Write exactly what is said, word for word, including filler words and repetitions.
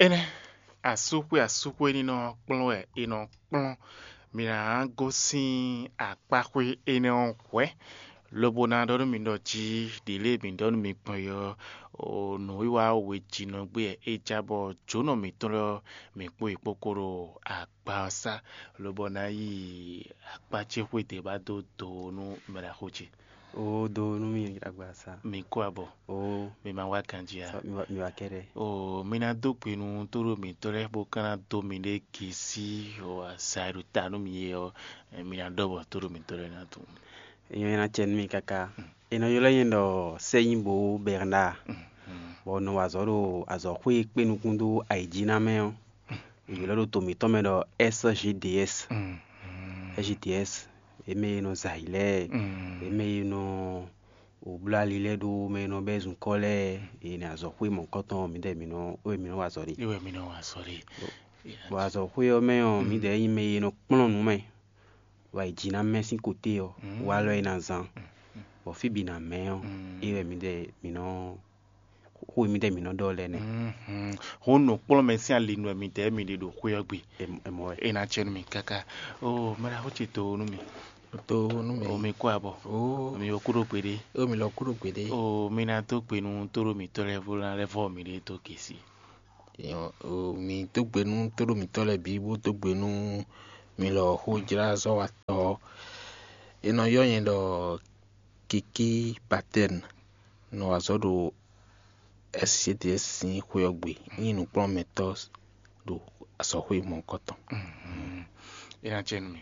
Énɛ́, asúxwé asúxwé ní nɔ kplɔ́n wɛ è nɔ kplɔ́n. Mi ná gosín akpáxwé énɛ́ ɔ́ hwɛ̌, lobo ná ɖɔ nú mi ɖɔ jí ɖě lě mi ɖɔ nú mi gbɔn é ɔ́, nǔwiwa wejǐnɔgbé wɛ é já bɔ jǒnɔ mǐtɔn lɛ́ɛ ɔ́, mǐ kpó yě kpókó ɖo agba ɔ́ sá, lobo ná yi akpá ce xwé dě ba dó do nú mɛɖaxó ce. Ó dó nú mì agba sá. Mi kó abɔ. Ó Mi ma wá ganjí a? Sɔ mi wá mi wá kɛɖɛ. Oo, mi ná dó gbe nú tóɖó mǐtɔn lɛ́ɛ bó ka ná dó miɖée gesí o azǎ e ɖo ta nú mi é ɔ́, mi ná ɖɔ bɔ tóɖó mǐtɔn lɛ́ɛ ná tunwun. Èèyàn e ná cɛ nú mi káká. È nɔ ylɔ́ nyɛ ɖɔ Sɛ́nyíbo Bernard, bɔ un nɔ wa azɔ̌ ɖo azɔ̌xwé e kpé nukún dó ayǐjínamɛ ɔ́. È ylɔ́ ɖo to mǐtɔn mɛ ɖɔ S G D S. S G D S, é mɛ e nɔ zɛ ayǐ lɛ́ɛ, é mɛ e nɔ wǒ bló ali lɛ́ɛ ɖó mɛ e nɔ bɛ́ zunkɔ́ lɛ́ɛ, e nɛ azɔ̌xwé mɔ̌hunkɔtɔn mǐdɛɛ mǐ nɔ wɛ mǐ nɔ wa azɔ̌ ɖe. Iwɛ mi nɔ wa azɔ̌ ɖe. Bɔ azɔ̌xwé ɔ́ mɛ ɔ́, mǐdɛɛ nyí mɛ e nɔ kplɔ́n nǔ mɛ, bɔ ayǐjínamɛ sín koté ɔ́, walɔ e ná zán, bɔ fí bǐ ná mɛ ɔ́, é wɛ mǐdɛɛ mǐ nɔ xó e mǐdɛɛ mǐ nɔ ɖɔ lɛ́ɛ nɛ́. Hǔn nǔkplɔ́nmɛ sín ali nú wɛ mǐdɛɛ mǐ ɖe ɖo xwé ɔ́ gbe. È mɔ wɛ. É ná cɛ nú mì káká. Oo, mɛɖaxó ce to nú mì. To nú mì. O mi kó abɔ. Oo. Mi wɔ kúɖó gbeɖé. O mi lɔ kúɖó gbeɖé. Oo, mi ná dó gbe nú tóɖó mǐtɔn lɛ́ɛ bó ná lɛ́ vɔ mǐɖée dó gěsí. O mi dó gbe nú tóɖó mǐtɔn lɛ́ɛ bǐ bó dó gbe nú mi lɔ xójlázɔ́watɔ́ ɔ́. È nɔ ylɔ́ nyɛ ɖɔ Kiki Patɛn, nɔ wa azɔ̌ ɖo S C D S sín xwé ɔ́ gbe, nyí nǔkplɔ́nmɛtɔ́ ɖo azɔ̌xwé mɔ̌hunkɔtɔn. É ná cɛ nú mi.